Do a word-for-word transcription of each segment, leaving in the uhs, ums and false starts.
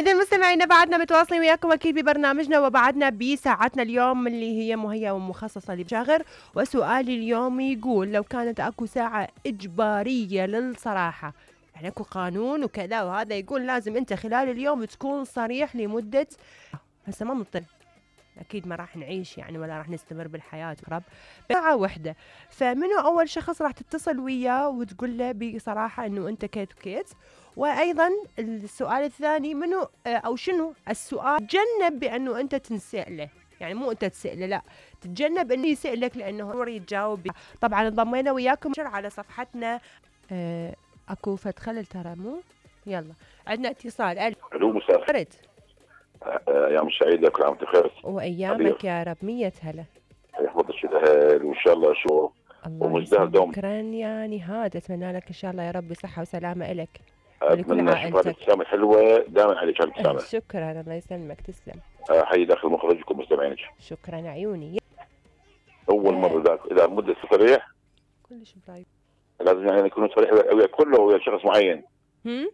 إذا مستمعينا بعدنا متواصلين وياكم أكيد ببرنامجنا وبعدنا بساعتنا اليوم اللي هي مهيئة ومخصصة للشاغر. وسؤالي اليوم يقول لو كانت أكو ساعة إجبارية للصراحة، يعني أكو قانون وكذا وهذا يقول لازم أنت خلال اليوم تكون صريح لمدة، هسه ما مضطر أكيد ما راح نعيش يعني ولا راح نستمر بالحياة قرب ساعة وحدة، فمنو أول شخص راح تتصل وياه وتقول له بصراحة إنه أنت كيت وكيت؟ وأيضا السؤال الثاني منو أو شنو السؤال تجنب بأنه أنت تنسأله، يعني مو أنت تسأله لا تتجنب إنه يسألك لأنه هو يتجاوب. طبعا انضمينا وياكم على صفحتنا. أه أكو فد خلل ترى مو يلا عندنا اتصال. الو مساء ايام سعيده، كل عام وانت بخير. وايامك يا رب. مية هلا يحفظك الاهل وان شاء الله شو ومزدهر دوم. شكرا يعني هاد اتمنى لك ان شاء الله يا رب صحه وسلامه الك ولكل عائلتك. الابتسامه الحلوه دائما عليك الابتسامه. شكرا الله يسلمك تسلم. حي داخل مخرجكم مستمعينك. شكرا عيوني. اول مره ذاك اذا مده صريح كلش برايب لازم يعني يكون صريح ويا كله ويا شخص معين. هم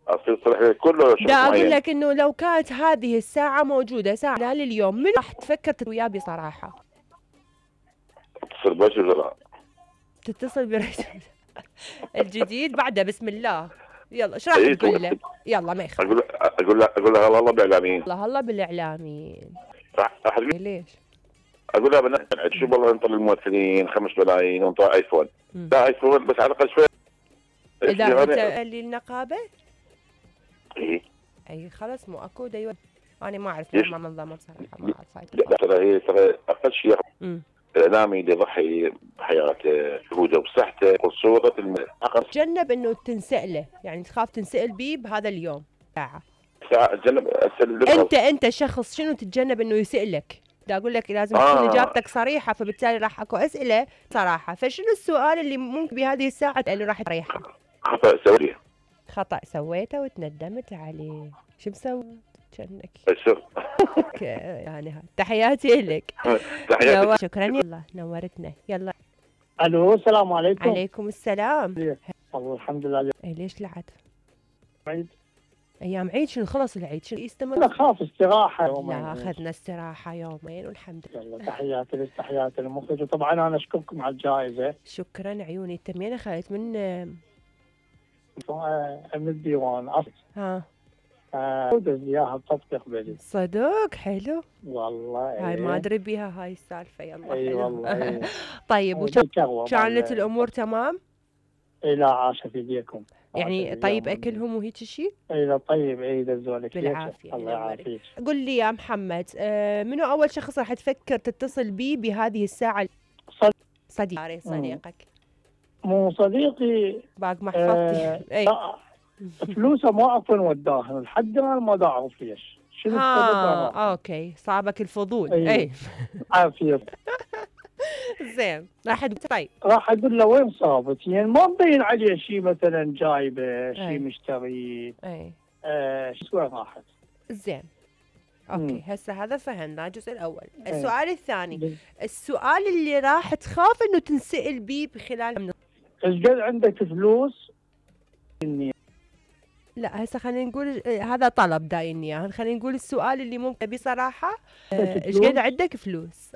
اصير صريح كله ويا شخص دا معين. اقول لك انه لو كانت هذه الساعه موجوده ساعه خلال اليوم من راح تفكر وياه بصراحه؟ اتصل برجل ولا تتصل برجل الجديد بعده بسم الله يلا ايش راح تقول له؟ يلا ما يخالف. اقول اقول له اقول له الله بالاعلاميين. الله الله بالاعلاميين. راح ليش؟ اقول لها بنات شو والله نطر الممثلين خمس ملايين ونطر ايفون. لا ايفون بس على الاقل شوي. اذا انت للنقابه؟ ايه اي خلاص مو اكو ايوه انا ما اعرف ما منظمه بصراحه ما اعرف. لا ترى هي ترى اقل شيء الاعلامي اللي يضحي بحياته جهوده وصحته وصوره المحقق. تجنب انه تنسأله، يعني تخاف تنسأل بيه بهذا اليوم ساعه. ساعه تجنب اسال انت انت شخص شنو تتجنب انه يسألك؟ بدي اقول لك لازم تكون آه. اجابتك صريحه، فبالتالي راح اكو اسئله صراحه، فشنو السؤال اللي ممكن بهذه الساعه اللي راح تريحك؟ خطا سويه. خطا سويته وتندمت عليه، شو مسوي؟ كأنك يعني تحياتي لك. تحياتي. شكرا يلا نورتنا. يلا الو السلام عليكم. عليكم السلام. والله الحمد لله. اي ليش العد؟ عيد ايام عيد شنو خلص العيد شنو يستمر؟ لا خاف استراحه يومين. لا اخذنا استراحه يومين والحمد لله. تحياتي لك تحياتي للمخرج، وطبعا انا اشكركم على الجائزه. شكرا عيوني. انت منين اخذت؟ من من الديوان اصل. ها ودز اياها بتطبيق بلي. صدق حلو والله. هاي ما ادري بيها هاي السالفه. يلا اي والله. طيب وكانت الامور تمام؟ اي لا عاشه في ايديكم يعني طيب اكلهم وهيك شيء؟ اي لا طيب اي دزولك بالعافيه. الله يعافيك. قل لي يا محمد آه منو اول شخص راح تفكر تتصل بيه بهذه الساعه؟ صديق. صديق صديقك مو صديقي باق محفظتي. آه اي فلوسه ما اعرف وين وداها لحد الان ما دا اعرف ليش. شنو السبب؟ اوكي صابك الفضول. اي, أي. عافيه. زين راح طيب راح اقول له وين صابت، يعني ما مبين عليه شيء مثلا جايبه شيء مشتري. اي آه شو وين راحت. زين اوكي هسه هذا فهمنا الجزء الاول. السؤال الثاني السؤال اللي راح تخاف انه تنسأل بيه بخلال ايش قد عندك فلوس؟ لا هسه خلينا نقول هذا طلب دايني اياه، خلينا نقول السؤال اللي ممكن بصراحه ايش قد عندك فلوس؟